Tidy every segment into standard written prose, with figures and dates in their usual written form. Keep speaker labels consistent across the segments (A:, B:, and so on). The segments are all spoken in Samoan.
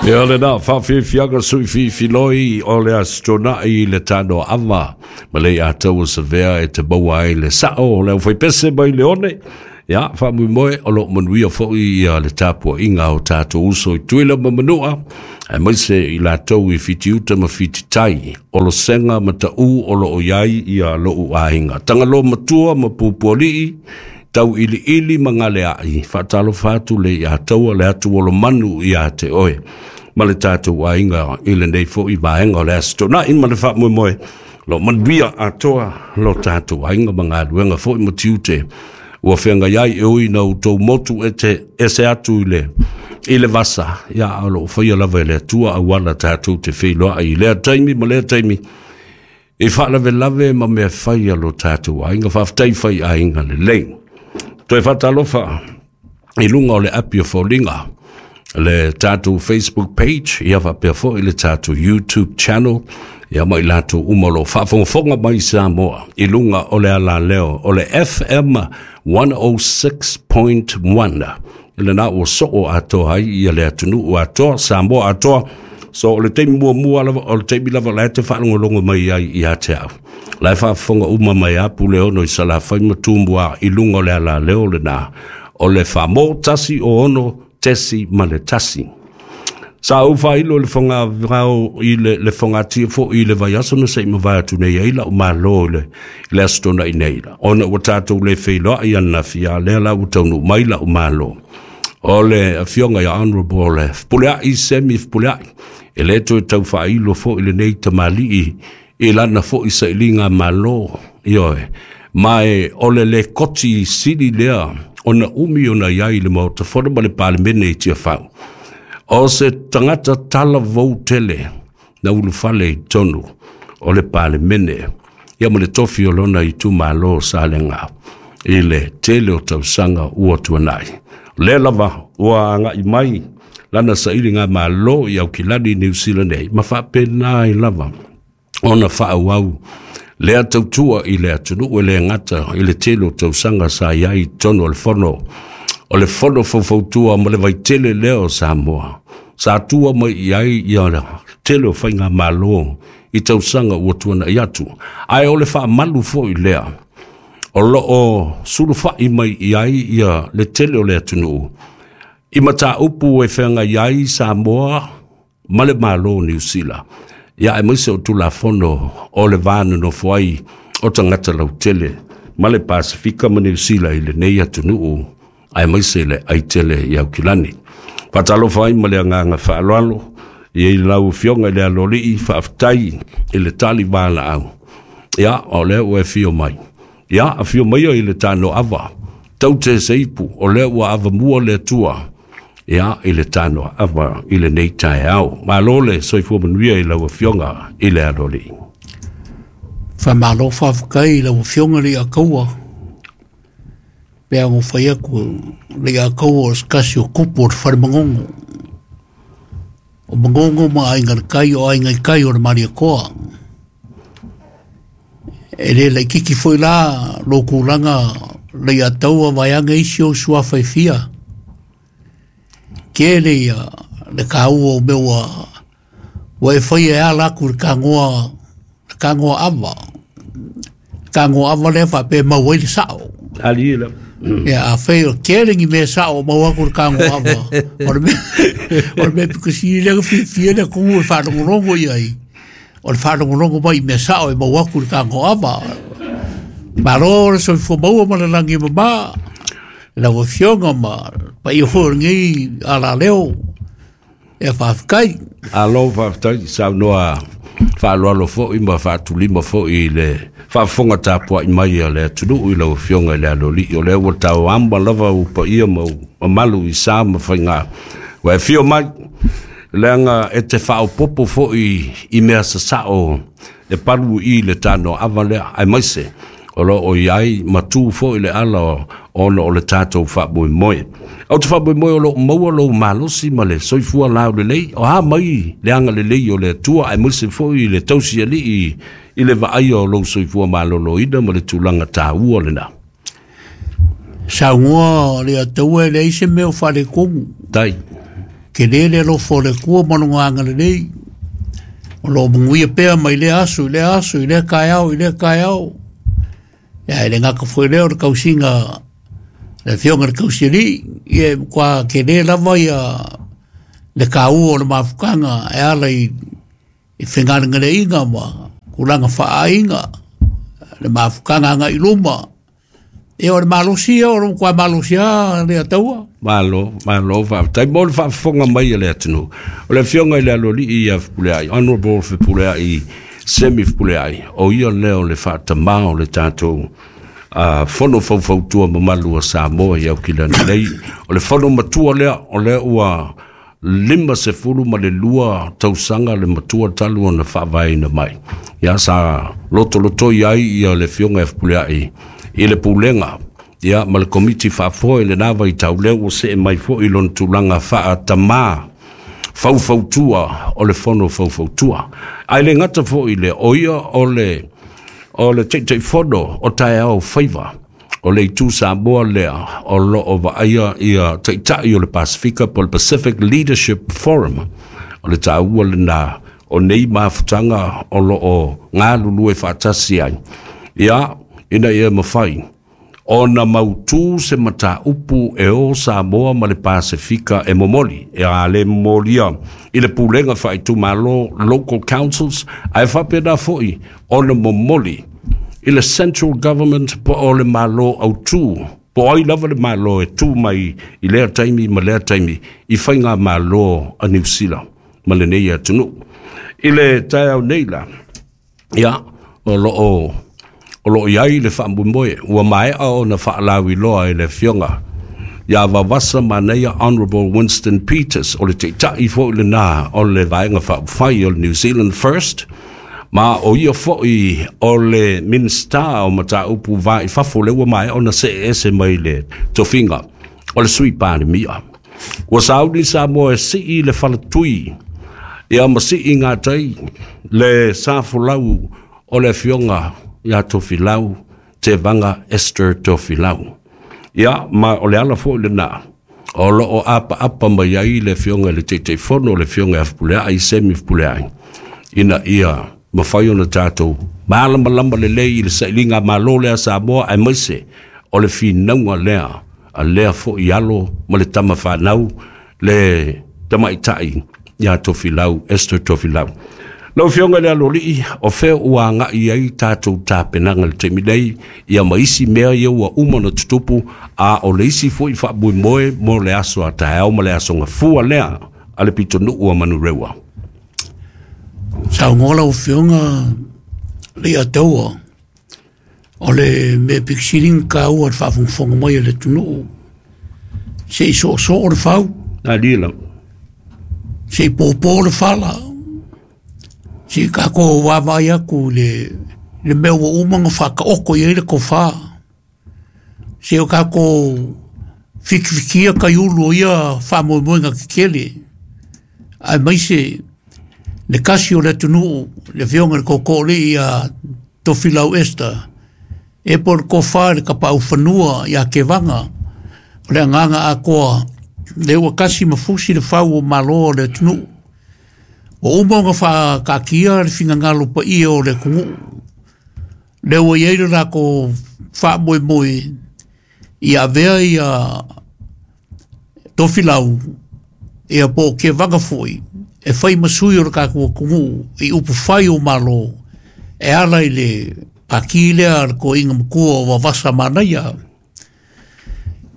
A: Ia lena faafiafiaga sui fifiloi o le Aso Toonai i le tanoaava ma le ataua savea e te maua ai le sao o le aufaipese mai le one. Ia, faamoemoe o loo manuia foi ia le tapuaiga o tatou uso i Tutuila ma Manua, aemaise i latou i Fitiuta ma Fititai, Olosega ma Taʻu o loo i ai ia lou aiga. Tagaloa matua ma Pupualii, Tauiliili ma Galeai, faatalofa atu le Ataua le atu olomanu ia te oe ma le tatou aiga i lenei foi vaega o le Aso Toonai ma le faamoemoe lo manuia atoa lo tatou aiga ma galuega foi ma tiute ua feagai ai e ui na outou motu e te ese atu i le vasa. Ia, o loo faia lava e le Atua auala tatou te feiloai i lea taimi ma lea taimi i faalavelave ma mea fai a lo tatou aiga. Faafetai fai aiga lelei. Toe faatalofa i luga o le api o foliga, le tatou Facebook page, ia faapea foi le tatou YouTube channel, ia ma i latou uma o lo o faafogafoga mai Samoa i luga o le alaleo o le FM 106.1. I lena ua soo atoa ai ia le atunuu atoa, Samoa atoa. So o le taimi muamua lava, o le taimi lava la e te faalogologo mai ai ia te au. La e faafofoga uma mai a Puleono i Salafai ma Tumua i luga o le alaleo lena o le Famo 106.1. Sa ou faailo i le fogavao i le fogatia foi i le vaiaso na se i mavae atu nei ai lau malo i le Aso Toonai nei, ona ua tatou le feiloai ananafi, a lea la ua taunuu mai lau malo. O le afioga ia Honorable Fepuleai Semi Fepuleai, e le toe tau faailo foi lenei tamalii i lana foi sailiga malo, ioe, ma e o le lekoti sili lea ona umi ona i ai i le Maota Fono ma le Palemene i Tiafau. O se tagata talavou tele na ulufale i totonu o le Palemene, ia ma le tofi o lona itumalo Salega i le tele o tausaga ua tuanai. O lea lava ua agai mai lana sailiga malo i Aukilani, Niu Sila nei, ma faapena ai lava ona faaauau lea tautua i le atunuu e le gata i le tele o tausaga sa i ai i totonu o le fono o le fono faufautua ma le vaitele lea o Samoa sa tua mai i ai ia le tele o faigamalo i tausaga ua tuanai atu. Ae o le faamalu foi lea o loo sulufai mai i ai ia le tele o le atunuu i mataupu e feagai ai Samoa ma le Malo o Niu Sila, ia aemaise o Tulafono o le va nonofo ai o tagata lautele ma le Pasifika ma Niu Sila i lenei atunuu, aemaise le aitele i Aukilani. Faatalofa ai ma le agaga faaaloalo i lau afioga i le Aloalii, faafetai i le tali valaau. Ia, o lea ua e afio mai. Ia, afio mai i le tanoava, taute seipu, o lea ua avamua le Atua, ia, i le tanoava i lenei taeao. Malo le soifua manuia i lau afioga i le Aloalii.
B: Faamalo faafetai i lau afioga le Ataua. Pe a fai atu le Ataua o se tasi o tupu o le fale Manono. O Manono ma aiga le tai o aiga i tai o le Malietoa. E le laititi foi la lo tulaga le Ataua vaeane isi o suafa e fia. Tele ia le taua o mea ua e faia e ala atu i le tagoa ava. Le tagoa ava lea faapea e maua ai le sao.
A: Ali la.
B: Ia, a fai o tele ni mea sao o maua atu i le tagoa ava. O le mea pito sili lea na fiafia le atunuu e faalogologo i ai. O le faalogologo mai i mea sao e maua atu i le tagoa ava. Malo le soifua maua ma le lagi e mama. Lau afioga ma paia foi o lenei alaleo. Ia faafetai.
A: Alo faafetai saunoa faaaloalo foi ma faatulima foi i le faafofoga tapuai mai a le atunuu i lau afioga i le Aloalii. O lea ua tauama lava ua paia ma mamalu i sa ma faiga. Ua e afio mai, leaga e te faaopopo foi i mea sasao e palu i le tanoaava lea, aemaise o loo i ai matu foi le ala ona o le tatou faamoemoe. Ou te faamoemoe o loo maua lou malosi ma le soifua laulelei, o a mai le agalelei o le Atua, aemaise foi le tausialii i le vaaia o lou soifua maloloina ma le tulaga taua lena.
B: Saunoa le Ataua e leai se mea o faaletonu.
A: Tai.
B: Tele le alofa o le Atua ma lona agalelei, o lo o manuia pea mai lea aso i lea aso, i lea taeao i lea taeao. Ia, e le gata foi lea o le tausiga le Afioga i le Tausialii, ia e matua tele lava ia le taua o le mafutaga e ala i fegalegaleaiga ma tulaga faaaiga, le mafutaga agai i luma. Ia o le malosi ia, o le matua malosi lava le Ataua.
A: Malo, malo faafetai mo le faafofoga mai a le atunuu. O le Afioga i le Aloalii ia Fepuleai, Honorable Fepuleai, Semi Fepuleai, o ia lea o le faatamā o le tatou fono faufautua mamalu a Samoa i Aukilani nei. O le fono matua lea, o lea ua 52 tausaga le matua talu ona faavaeina mai. Ia sa lotolotoi ai ia le Afioga ia Fepuleai i le pulega ia ma le komiti faafoe i lena vaitau, lea ua see mai foi i lona tulaga faatamā faufautua o le fono faufautua. Ae le gata foi i lea, o ia o le Taitaifono o Taeao Faiva, o le itu Samoa lea o lo o vaaia ia taitai o le Pasifika po o le Pacific Leadership Forum. O le taua lena o nei mafutaga o lo o galulue faatasi ai, ia ina ia mafai ona mautu se mataupu e o Samoa ma le Pasifika e momoli, e a le momolia i le pulega faaitumalo local councils, ae faapena foi ona momoli i le central government po o le malo autu, po o ai lava le malo e tu mai i lea taimi ma lea taimi i faiga malo a Niu Sila ma lenei atunuu. I le taeao nei la, ia, o lo o i ai le faamoemoe ua maea ona faalauiloa e le Afioga ia Vavasa Manaia Honorable Winston Peters, o le taitai foi lena o le vaega faaupufai o le New Zealand First, ma o ia foi o le Minista o Mataupu Va i Fafo, lea ua maea ona see ese mai le tofiga o le Sui Palemia. Ua sauni Samoa e sii le falatui ia ma sii gatai le safolau o le Afioga ia Tofilau Tevaga Esther Tofilau. Ia, ma o le ala foi lena o lo o apaapa mai ai le Afioga i le Taitaifono, le Afioga ia Fepuleai, Semi Fepuleai, ina ia mafai ona tatou malamalama lelei i le sailiga malo lea Samoa, aemaise o le finauga lea a lea foi alo ma le tama fanau le tamaitai ia Tofilau, Esther Tofilau. Lau Afioga i le Aloalii, o fea ua agai ai tatou tapenaga i le taimi nei, ia ma isi mea ia ua uma ona tutupu, a o le isi foi faamoemoe mo le aso a taeao ma le aso gafua lea a le pitonuu a Manurewa.
B: Saunoa lau Afioga le Ataua, o le mea pikisili na taua le faafogafoga mai a le atunuu, se i soosoo le fau,
A: Alila.
B: se i pōpō le fala, se i tatou vaavaai atu i le mea ua uma ona faataoto i ai le tofa, se o tatou fikifikia taiulu o ia faamoemoega tetele, aemaise le kasi o le atunuu, le Afioga i le Tootooalii ia Tofilau Esther, e po o le tofa i le tapaaufanua ia Tevaga, o le agaga atoa, lea ua kasi ma fusi le fau o malo o le atunuu. Ua uma ona faataatia le finagalo paia o le atunuu, lea ua i ai le latou faamoemoe ia avea ia Tofilau ia po o Tevaga foi e fai ma sui o le tatou atunuu i upufai o malo e ala i le pati lea a le toeaina matua o Vavasa Manaia.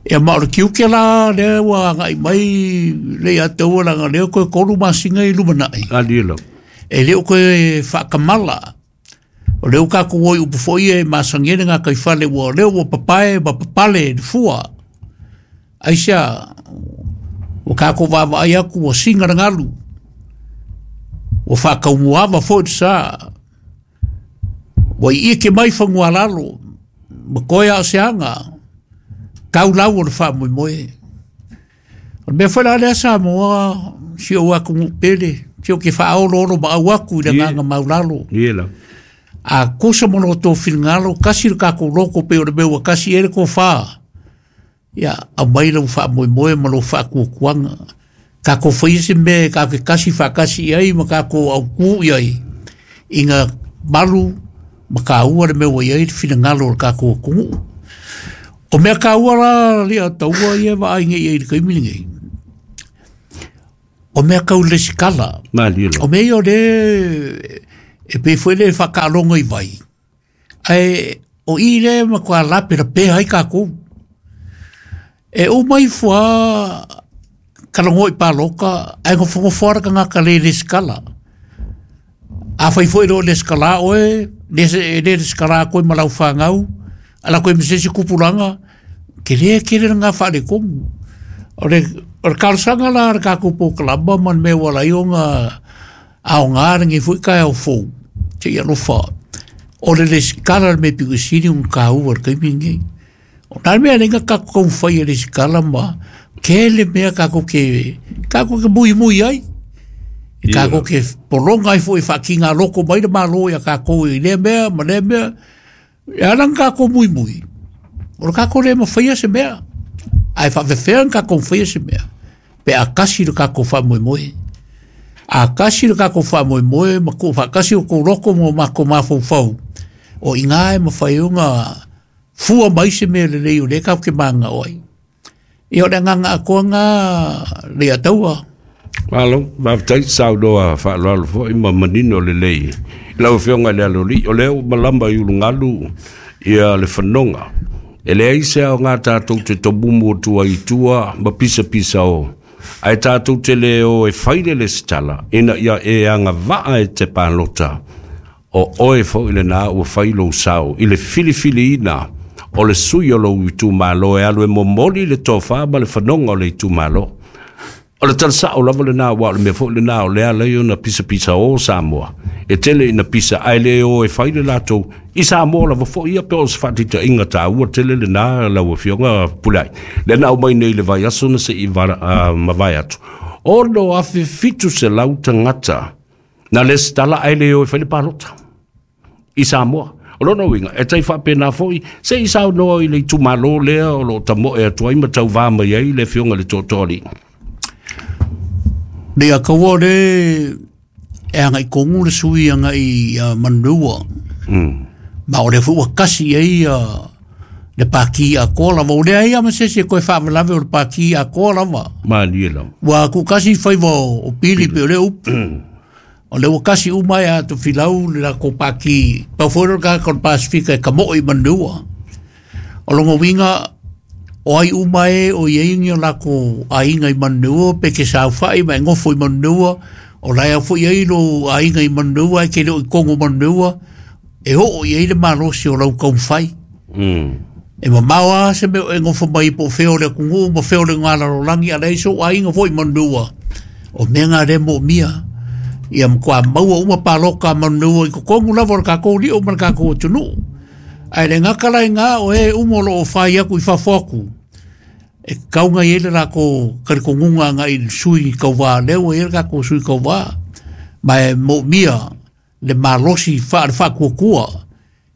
B: Ia ma o le tiute la lea ua agai mai le ia taua leaga lea toe 3 masina i lumanai.
A: Alila.
B: E le o toe faakamala. O lea ua tatou o i upu foi e masani ai le gataifale ua lea ua papae ma papale le fua. Aisea, ua tatou vaavaai atu ua siga le galu, ua faataumuaava foi le sa, ua iike mai fanualalo, ma toe a o se aga, tau lau o le faamoemoe. O le mea foi la lea Samoa, si ou atunuu pele, si ou ke faaoloolo maau atu i le agaga maulalo.
A: Iela.
B: A kusa mo lo tō finagalo, kasi le tatou loko pe o le mea ua kasi ai le tofa. Ia, aumai lau faamoemoe ma lou faatuatuaga. Kākou faia se mea e kākou ke kasi faatasi i ai ma kākou aukū i ai ina malu ma kāua le mea ua i ai le finagalo o le kākou atunuu. O mea kāua la lia taua ia e vaai nei i ai i le taimi lenei. O mea kau lesikala.
A: Malie lava.
B: O mea ia o le e pei foi le whakaaloga i vai. Ae o i le matua lapelapea ai kākou. E uma ifo a talanoa i pāloka ae nofonofo lava le tagata le resitala. Afai foi e le o resitala oe, e le resitala atu ai ma lau fanau, ala atu ai ma se isi tupulaga, tele tele lena faaletonu. O le o le talosaga la a le tatou polokalama ma le mea ua ala ai ona aoga lenei foi taeao fou, se i alofa, o le resitala le mea pito sili ona taua i le taimi lenei. O le a le mea e ala ai ona tatou taumafai e resitala ma tele mea tatou te muimui ai, e tatou te pologa ai foi e faatiga loto mai le Malo ia tatou i lea mea ma lea mea. E ala ona tatou muimui, o le tatou le mafaia se mea, ae faapefea ona tatou mafaia se mea pe a tasi le tatou faamoemoe. A tasi le tatou faamoemoe ma tuufaatasi o outou loto ma o matou mafaufau, o i ina e mafai ai ona fua mai se mea lelei o lea tatou te mananao ai. Ia o le agaga atoa lena Leiataua.
A: Malo, faafetai saunoa faaaloalo foi ma manino lelei i lau Afioga i le Aloalii. O lea ua malama i ulugalu ia le fanoga. E leai se aoga tatou te tomumu atu ai i tua ma pisapisa o, ae tatou te le o e fai le lesitala ina ia e agavaa e te palota. O oe foi lena ua fai lou sao i le filifiliina o le sui o lou itumalo e alu e momoli le tofa ma le fanoga o le itumalo. O le tala sao lava lena, aua o le mea foi lena o lea ala ai ona pisapisa o Samoa. E tele ina pisa ae le o e fai le latou i Samoa lava foi ia, pe o se faataitaiga taua tele lena lau Afioga Pulai. Lea na aumai nei i le vaiaso na se i mavae atu, 6,700 tagata na lesitala ae le o e fai le palota i Samoa. O lona uiga, e tai faapena foi, se i saunoa i le itumalo lea o lo o tamoe atu ai ma tauvā mai ai le Afioga i le Tootooalii.
B: Ia kaua o le e agai tonu le sui agai ia Manureua. Ma o lea foi ua tasi i ai ia le pati atoa lava. Ua leai lava ma se isi e toe faalavelave o le pati atoa lava.
A: Malie lava.
B: Ua tuutasi faiva o Pili pei o lea upu. O lea ua tasi uma ia Tofilau le latou pati, pau foi lea o le tagata o le Pasefika e tamoe i Manureua. O lona uiga, o ai uma e o i ai ni o latou aiga i Manureua pe te saofai ma e nofo i Manureua, o la e foi i ai lou aiga i Manureua ae te le o i totonu o Manureua, e oo i ai le malosi o lau taumafai. E mamao lava se mea o e nofo mai po o fea o le atunuu ma fea o le galalolagi, a leai sou aiga foi i Manureua, o mea na lea e moomia. Ia matua maua uma palota a Manureua i totonu lava o le tatou lio ma le tatou atunuu. Ae le gata la i ina, o e uma o lo o fai atu i fafo atu, e tatau ona i ai le latou talitonuga agai i le sui tauva, lea ua i ai le tatou sui tauva, ma e moomia le malosi le faatuatua.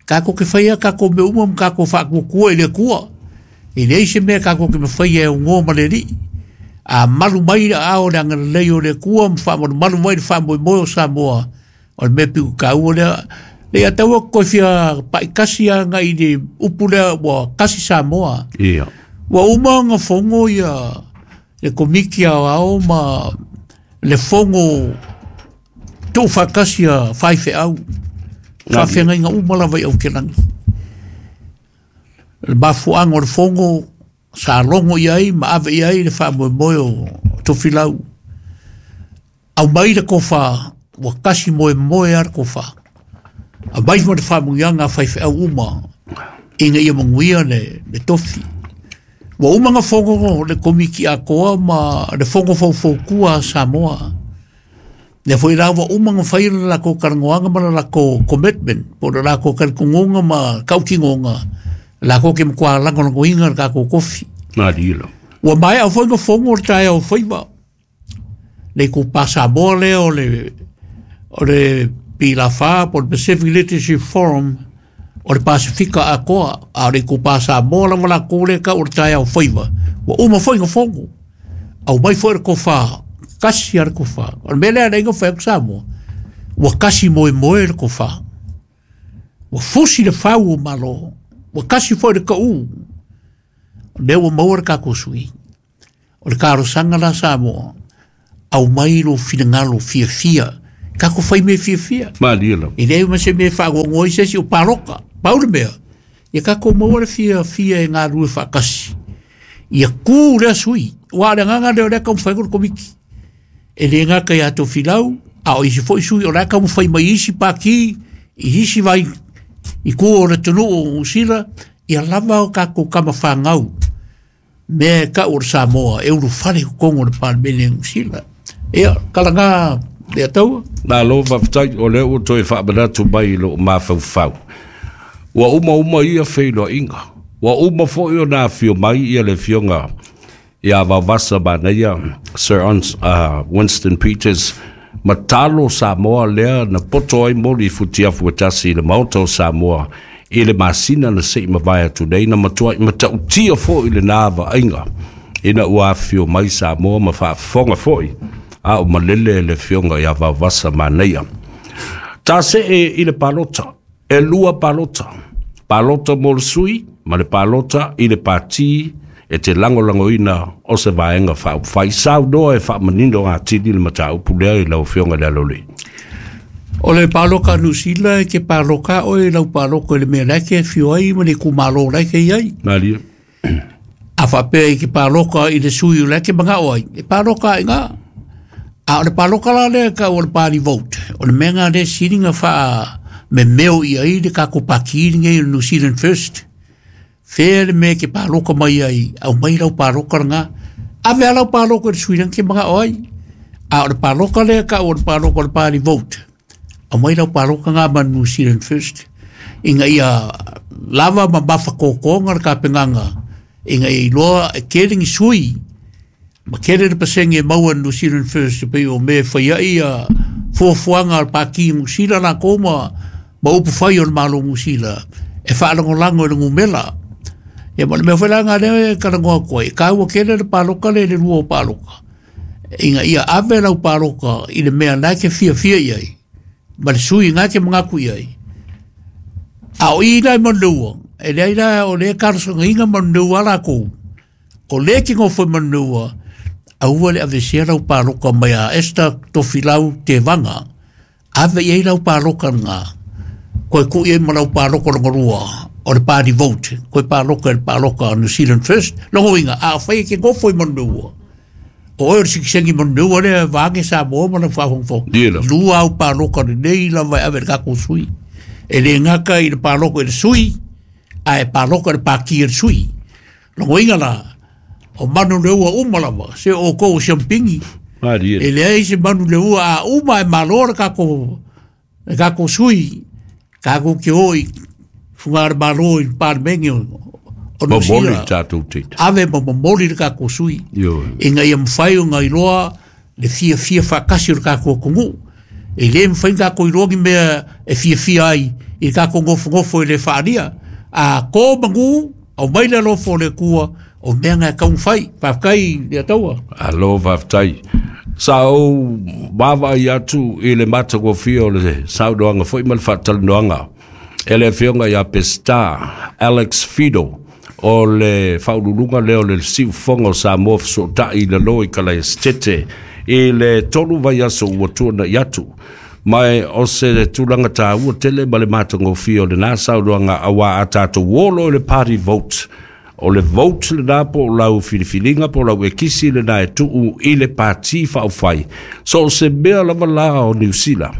B: Tatou te faia tatou mea uma ma tatou faatuatua i le Atua. E leai se mea tatou te mafaia e aunoa ma le Alii. A malu mai le aao o le agalelei o le Atua ma faamalumalu mai le faamoemoe o Samoa, o le mea pito taua lea. Lea taua toe fia paitasi agai i le upu lea ua tasi Samoa.
A: Ia.
B: Ua uma ona fono ia le Komiti Aoao ma le fono tuufaatasi a faifeau, faafeagaiga uma lava i Aukilani. Le mafuaaga o le fono sa logo i ai ma ave i ai le faamoemoe o Tofilau. Aumai le tofa, ua tasi moemoe lava le tofa. Aumai ma le faamanuiaga a faifeau uma ina ia manuia le tofi. Ua uma ona fono le Komiti atoa ma le fono faufautua a Samoa. Lea foi la ua uma ona fai le latou talanoaga ma le latou commitment po o le latou talitonuga ma tautinoga latou te matua lagolagoina le tatou tofi.
A: Malie lava.
B: Ua maea foi ona fono le taeao faiva le itupa Samoa lea o le PLAFA po o le Pacific Literacy Forum o le Pasefika atoa, a o le itupa Samoa lava latou lea e tau o le taeao faiva, ua uma foi ona fono. Aumai foi le tofa, Kasi a le tofa. O le mea lea na iga fai atu Samoa, ua kasi moemoe le tofa. Ua fusi le fau o Malo, ua kasi foi le kaʻu. O lea ua maua le tatou sui. O le talosaga la Samoa, aumai lou finagalo fiafia, tatou fai mea fiafia.
A: Malie lava.
B: E leai ma se mea e faagoagoa ai se isi o paloka. Pau le mea, ia tatou maua le fiafia e galulue faatasi. Ia kū lea sui. Aua o le agaga lea o lea e taumafai atu le Komiti. E le gata ia Tofilau, a o isi foi sui o la e taumafai mai i isi pati, i isi vai i tua o le atunuu o Niu Sila, ia lava o tatou tama fanau, mea e tau o le Samoa e ulufale i totonu o le Palemene o Niu Sila. Ia, tala na Leataua.
A: Malo faafetai, o lea ua toe faamanatu mai i lou mafaufau. Ua uma uma ia feiloaiga. Ua uma foi ona afio mai ia le afioga ia Vaovasa Manaia, Sir Winston Peters, ma talo Samoa lea na poto ai moli i futiafu e tasi i le Maota o Samoa i le masina na se i mavae atu nei, na matuai matautia foi lena vaaiga ina ua afifio mai Samoa ma faafofoga foi a o malele le afioga ia Vaovasa Manaia. Ta see i le palota, e lua palota, palota mo le sui ma le palota i le pati e te lagolagoina o se vaega faaupufai. Saunoa e faamanino atili le mataupu lea i lau afioga i le Aloalii.
B: O le paloka a Niu Sila e te paloka oe i lau paloka i le mea la e te afio ai ma le itumalo la e te i ai.
A: Malie.
B: A faapea i te paloka i le sui o la e te manao ai, e paloka ai ngā. A o le paloka la lea e tau o le party vote, o le mea ngā lea sili na faa memeo i ai le tatou pati lenei o le New Zealand First. Fea le mea e te paloka mai ai, aumai lau paloka lena. Ave a lau paloka i le sui lena te manao ai. A o le paloka lea e tau o le paloka o le party vote, aumai lau paloka ngā ma New Zealand First. Ina ia lava ma mafatotoga le tapenaga, ina ia iloa e tele ni sui, ma tele le pasene e maua e New Zealand First, e pei o mea e fai ai ia fuafuaga a le Pati Niu Sila latou ma upu fai o le Malo Niu Sila e faalagolago i le numera. Ia ma le mea foi la lena lea e talanoa atu ai, e taua tele le paloka lea i le lua o paloka, ina ia ave lau paloka i le mea na e te fiafia i ai, ma le sui na e te manatu i ai. A o i la i Manuleua, e leai la o lea e talosagaina Manuleua a latou, o lea e te nofo i Manuleua, aua le aveesea lau paloka mai a Esther Tofilau Tevaga, ave i ai lau paloka lena, koe tuu i ai ma lau paloka lona lua, o le party vote, koe paloka i le paloka o New Zealand First. Lona uiga, a fai e te nofo i Manuleua, o oe o le sitiseni Manuleua lea vaeane Samoa ma lau faafogafoga,
A: Ie lava.
B: lua au paloka lelei lava e ave i le tatou sui. E le gata i le paloka i le sui, ae paloka i le pati a le sui. Lona uiga la, o Manuleua uma lava, se o outou o siamupini.
A: Malie.
B: E leai se Manuleua a uma e malo le tatou sui, tatou te o i fuga le malo i le Palemene o Niu
A: Momoli
B: Sila.
A: tatou teita.
B: Ave ma momoli le tatou sui.
A: Ioe.
B: Ina ia mafai ona iloa le fiafia faatasi o le tatou atunuu. E le mafai ona tatou iloa ni mea e fiafia ai i le tatou nofonofo i le faalia. A to manu, aumai le alofa o le Atua, o mea na e taumafai. Faafetai Leataua.
A: Alo faafetai. Sa ou vaavaai atu i le matagofie o le saunoaga foi ma le faatalanoaga e le afioga ia Peseta Alex Fido o le faauluuluga lea o le Siufofoga o Samoa fesootai i lalo i Kalaesetete i le 3 vaiaso ua tuanai atu. Ma e o se tulaga taua tele ma le matagofie o lena saunoaga auā a tatou olo i le party vote. O le vote lena po o lau filifiliga po o lau ekisi lena e tuu i le pati faaupufai. So o se mea lava la o Niu Sila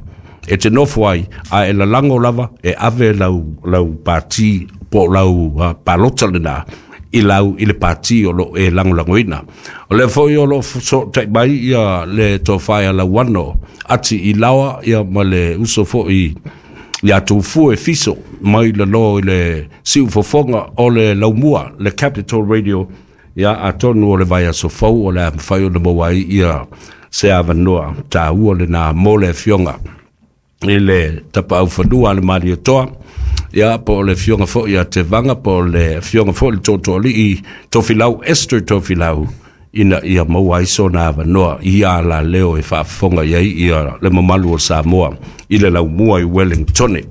A: e te nofo ai a e lalago lava e ave lau pati po o lau palota lena i lau i le pati o lo e lagolagoina. O lea foi o lo sootai mai ia le tofa ia Lauano ati i laoa ia ma le uso foi ia Tufue Fiso mai lalo i le siufofoga o le Laumua, le Capital Radio, ia atonu o le vaiaso fou o le a mafai ona maua ai ia se avanoa taua lena mo le afioga i le Tapaaufanua a le Malietoa, ia po o le afioga foi ia Tevaga, po o le afioga foi le Tootooalii Tofilau, Esther Tofilau, ina ia maua ai sona avanoa i ia alaleo e faafofoga i ai ia le mamalu o Samoa i le laumua i Wellingtone.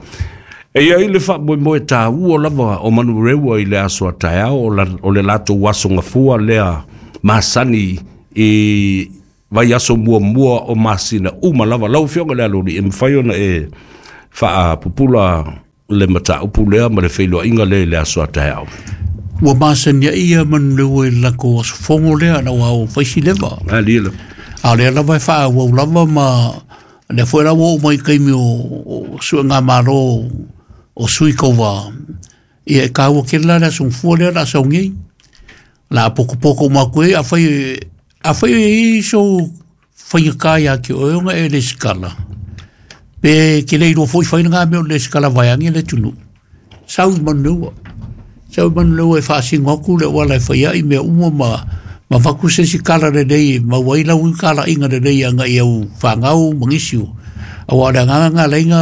A: E i ai le faamoemoe taua lava o Manurewa i le aso a taeao, o le latou aso gafua lea masani i vaiaso muamua o masina uma lava. Lau Afioga i le Aloalii, e mafai ona e faapupula le mataupu lea ma le feiloaiga lea i le aso a taeao.
B: Ua masani ai ia Manurewa i le latou aso fono lea na ua au faisi leva.
A: Alia la.
B: A o lea lava e faaauau lava ma lea foi la ua oo mai i taimi o suega malo o sui tauva. Ia e taua tele la le aso gafua lea o le a sau nei. O le a potopoto uma atu ai, afai e i ai sou faigata ia te oe ona e lesitala, pe te le iloa foi fai lena mea o le lesitala vaeane le atunuu, sau i Manurewa. Sau i Manurewa e faasino atu le auala e fai ai mea uma ma avatu se isi tala lelei e maua ai lau talaiga lelei agai i au fanau ma nisi o. Aua o le agaga lena la e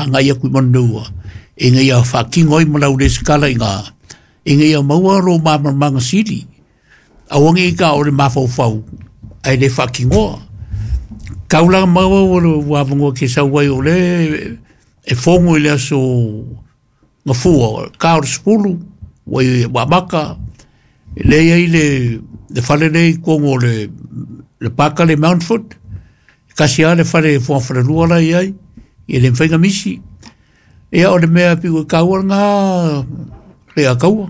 B: agai atu i Manurewa, ina ia faatino ai ma lau lesitala i ina, ina ia maua lou malamalamaga sili. Aua ne i ta o le mafaufau ae le faatinoa. Tau la maua ua le avanoa e te sau ai o lea e fono i le aso gafua, ka o le 10, ua i ua amata, lea e i ai le fale lea i totonu o le paka le Mountford, tasi lava le fale fogafalelua la e i ai, e le mafai ona misi. Ia o le mea pito i taua lena Leiataua.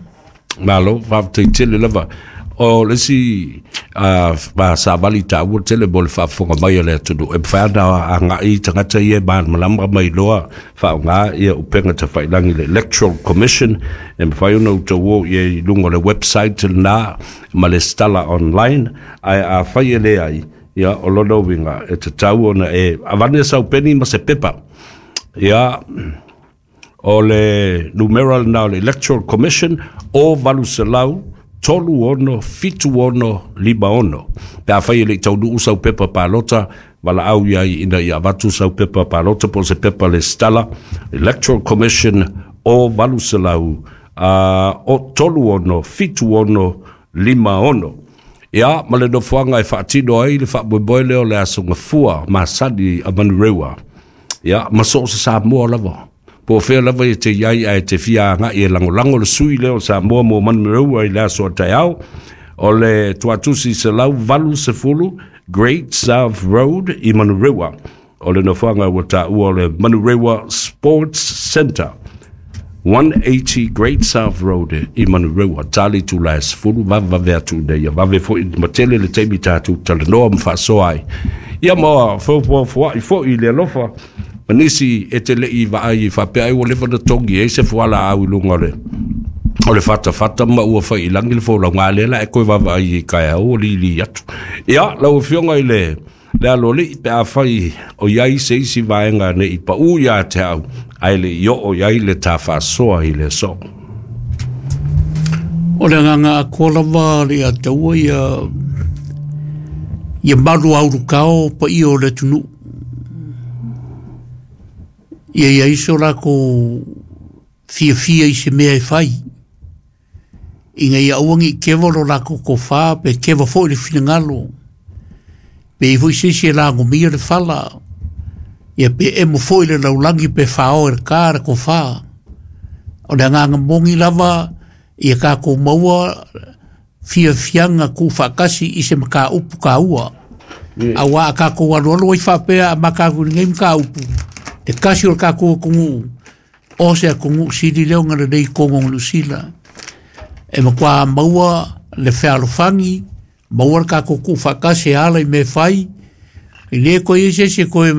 A: Malo, faafetai tele lava. O le isi savali taua tele mo le faafofoga mai a le atunuu, e mafai ona agai tagata ia e malamalama ma iloa faaaoga ia upega tafailagi le Electoral Commission, e mafai ona outou o i ai i luga o le website lena ma le stala online, ae afai e leai, ia o lona uiga e tatau ona e avane sau peni ma se pepa. Ia, o le numera lena o le Electoral Commission o 800 36 76 56. Pe afai e le i taunuu sau pepa palota, valaau i ai ina ia avatu sau pepa palota po o se pepa lesitala, Electoral Commission o 800 o 36 76 56. Ia, ma le nofoaga e faatino ai le faamoemoe lea o le aso gafua masani a Manurewa. Ia, ma so o se Samoa lava. Po o fea lava e te i ai ae te fia agai e lagolago le sui lea o Samoa mo Manurewa i le aso a taeao, o le tuatusi 180 Great South Road i Manurewa. O le nofoaga ua taua o le Manurewa Sports Centre. 180 Great South Road i Manurewa. Tali itula e 10, vavevave atu ina ia vave foi ma tele le taimi tatou talanoa ma faasoa ai. Ia ma feofoafoa'i foi i le alofa ma nisi e te le i vaai i faapea ai ua leva ona togi ai se fualaau i luga o le o le fatafata ma ua fai i lagi le folauga lea la e toe vaavaai i taeao ua lili atu. Ia, lau Afioga i le le Aloalii, pe afai o i ai se isi vaega ne i paʻū iā te au, ae le i oo i ai le tā faasoa i le aso.
B: O le agaga atoa lava le ia taua ia ia malu aulukao paia o le atunuu. Ia i ai so latou fiafia i se mea e fai. Ina ia aua ne i keva lo latou tofa pe keva foi le finagalo. Pe i ai foi se isi e lagomia le fala, ia pe emo foi le laulagi pe fao e le ka le tofa. O le agaga moni lava ia tatou maua fiafiaga tuufaatasi i se mataupu taua. Aua a tatou alualu ai faapea a mata atu i lenei mataupu, te tasi o le tatou atunuu, o se atunuu sili lea ona lelei i totonu o Niu Sila. E matua maua le fealofani, maua le tatou tuufaatasi e ala i mea e fai, e le toe i ai se isi e toe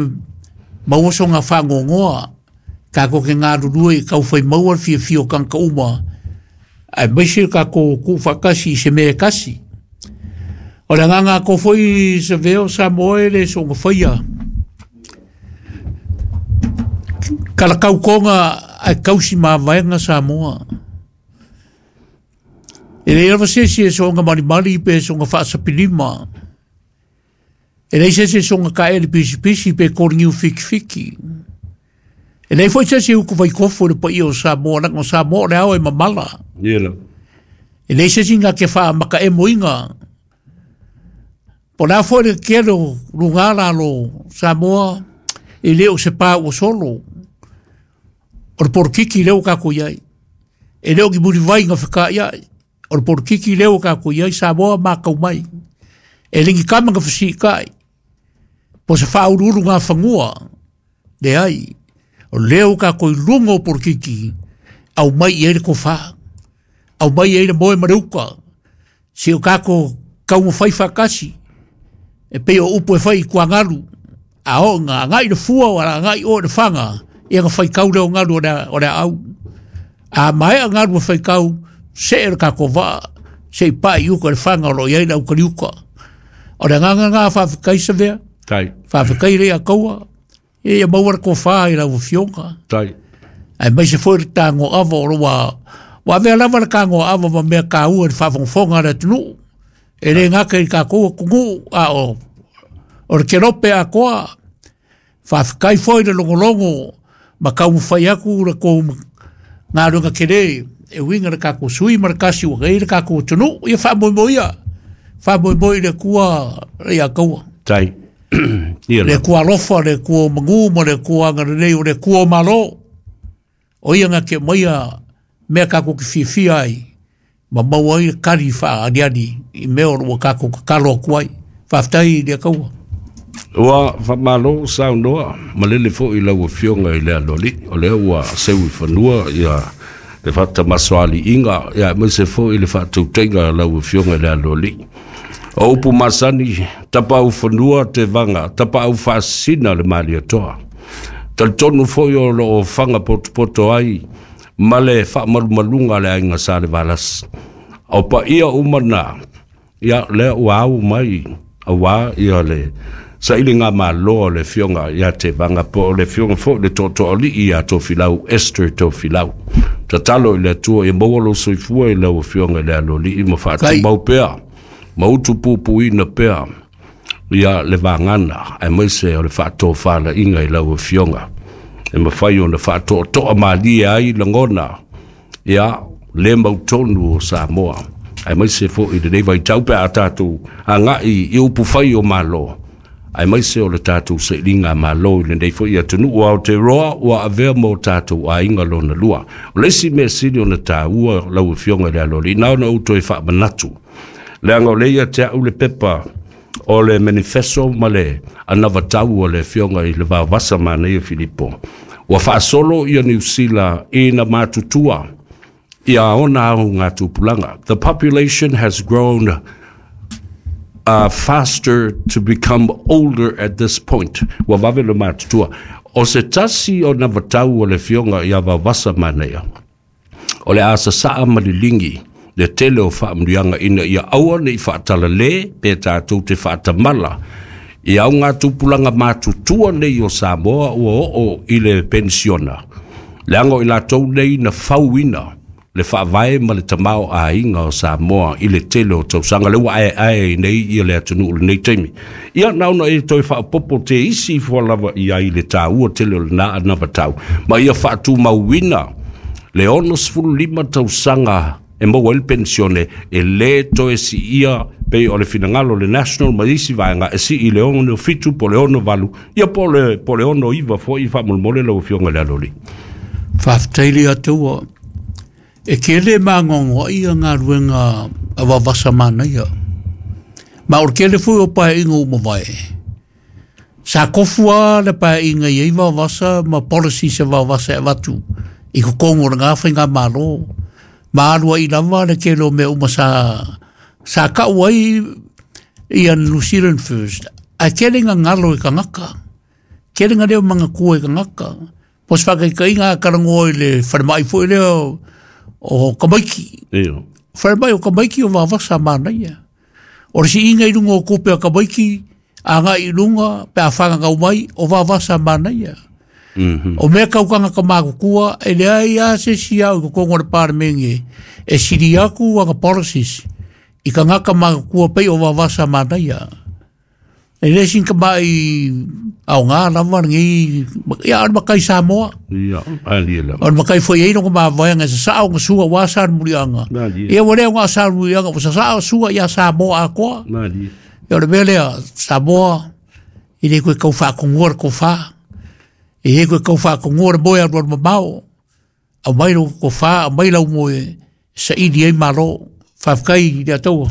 B: maua sona faanoanoa. Tatou te galulue i taufai maua le fiafia o tagata uma, aemaise le tatou tuufaatasi i se mea e tasi. O le agaga atoa foi Savea o Samoa e le soona faia. Talatau toga ae tausi mavaega Samoa. E leai lava se isi e soona malimali pe soona faasapilima. E leai se isi e soona taele pisipisi pe koliniu fikifiki. E leai foi se isi e utu vaikofo i le paia o Samoa, leaga o Samoa o le ao e mamala.
A: Ia lava.
B: E leai se isi na te faamakaemoina. Po le a foi le kele o luga lalo Samoa e le o se pā ua solo. O le polokiki lea ua tatou i ai. E le o ni mulivai na feka'ia'i. O le polokiki lea ua tatou i ai Samoa matau mai. E le ni tama na fesi'ita'i. Po se faauluulu gafanua. Leai. O lea ua tatou i luga o polokiki aumai i ai le tofā. Aumai i ai le moe ma le uta. Se o tatou taumafai faatasi e pei o upu e fai i tuagalu a oo ina agai le fua o agai oe i le faga ia na faitau lea o galu o le aau. A maea galu e faitau, see le tatou vaa se i pae i uka i le faga o lo o i ai le aukaliuka. O le agaga lena faafetai Savea.
A: Tai.
B: Faafetai le Ataua. Ia maua le tofa i lau afioga.
A: Tai.
B: Aemaise foi le tagoava o lo ua ua avea lava le tagoava ma mea taua i le faafogafoga a le atunuu. E le gata i tatou atunuu a o le kelope atoa. Faafetai foi le logologo ma taumafai atu le tou galuega tele e uiga i le tatou sui ma le tasi ua i ai le tatou atunuu. Ia faamoemoe ia, faamoemoe i le Atua ia taua.
A: Tai. Ia
B: Le Atua alofa, le Atua o manu ma le Atua agalelei, o le Atua o Malo. O ia na te aumaia mea tatou te fiafia ai ma maua ai le tali faaaliali i mea o lo o tatou tatalo atu ai. Faafetai i le Atua.
A: Ua faamalo saunoa malele foi i lau Afioga i le Aloalii, o lea ua seu i fanua ia le faatamasoaliiga, ia aemaise foi le faatautaiga a lau Afioga i le Aloalii. O upu masani, tapaau fanua te vaga, tapaau faasina le Malietoa. Talitonu foi o lo o faga potopoto ai ma le faamalumaluga a le aiga Salevalasi. O paia uma na, ia lea ua au mai aua ia le sailiga malo a le Afioga ia Tevaga po o le Afioga foi le Tootooalii ia Tofilau Esther Tofilau. Tatalo i le Atua ia maua lou soifua i lau Afioga i le Aloalii ma faatumau pea ma utupupuina pea ia le vagana aemaise o le faatofalaiga i lau Afioga e mafai ona faatoatoa malie ai lagona ia le mautonu o Samoa aemaise foi i lenei vaitau pe a tatou agai i upufai o Malo aemaise o le tatou sailiga malo i lenei foi atunuu o Aotearoa ua avea ma o tatou aiga lona lua. O le isi mea sili ona taua lau Afioga i le Aloalii, na ona ou toe faamanatu, leaga o lea ia te au le pepa o le manifesto ma le anavatau a le Afioga i le Vaovasa Manaia Filipo, ua faasolo ia Niu Sila ina matutua ia ona augatupulaga. The population has grown faster to become older at this point. Ua vave le matutua. O se tasi o navatau o le Afioga ia Vaovasa Manaia, o le a sasaa ma liligi le tele o faamanuiaga ina ia aua ne i faatalale pe tatou te faatamala i augatupulaga matutua nei o Samoa ua oo i le penisiona, leaga o i latou nei na fauina le faavae ma le tamaoaiga o Samoa i le tele o tausaga lea ua aeae ai nei ia le atunuu i lenei taimi. Ia na ona e toe faaopoopo te isi ifo lava i ai le taua tele o lena anavatau ma ia faatumauina le 65 tausaga e maua ai le penisione e le toe siia pei o le finagalo o le National ma isi vaega e sii i le 67 po o le 68 ia po o le 69 foi faamolemole lau Afioga i le Aloalii.
B: Faafetai le Atua. E tele magoagoa ia galuega a Vaovasa Manaia. Ma o le tele foi o paeaiga ua mavae. Sa tofu lava le paeaiga i ai Vaovasa ma policies a Vaovasa e avatu i totonu o lena faigamalo. Ma alu ai lava le tele o mea uma sa sa tau ai ia New Zealand First. Ae tele ina galo i tagata. Tele ina leo manatua i tagata. Po o se faataitaiga a talanoa i le falemai foi lea o Tamaiti.
A: Iyo.
B: Falemai o Tamaiti o Vaovasa manaia. O le siiga i luga o tupe a Tamaiti, agai i luga pe a fananau mai, o Vaovasa manaia. O mea tau tagata matutua, e leai lava se isi au i totonu o le Palemene e sili atu ana policies i tagata matutua pei o Vaovasa manaia. E le sin tamai aoga lava lenei, ia o le matai Samoa.
A: Ia, alia lava.
B: O le matai foi e ai lona mavaega e sasao ona sua aua sa le muliaga.
A: Malie.
B: Ia ua le ona sa le muliaga, ua sasao sua ia Samoa atoa.
A: Malie.
B: Ia o le mea lea Samoa i le koe kau whaakongoa le kowha. E he koe kau whaakongoa le moe alu alu mamao. Au mai lo kowha, au mai lau moe saili ai malo. Whawhakai i le ataua.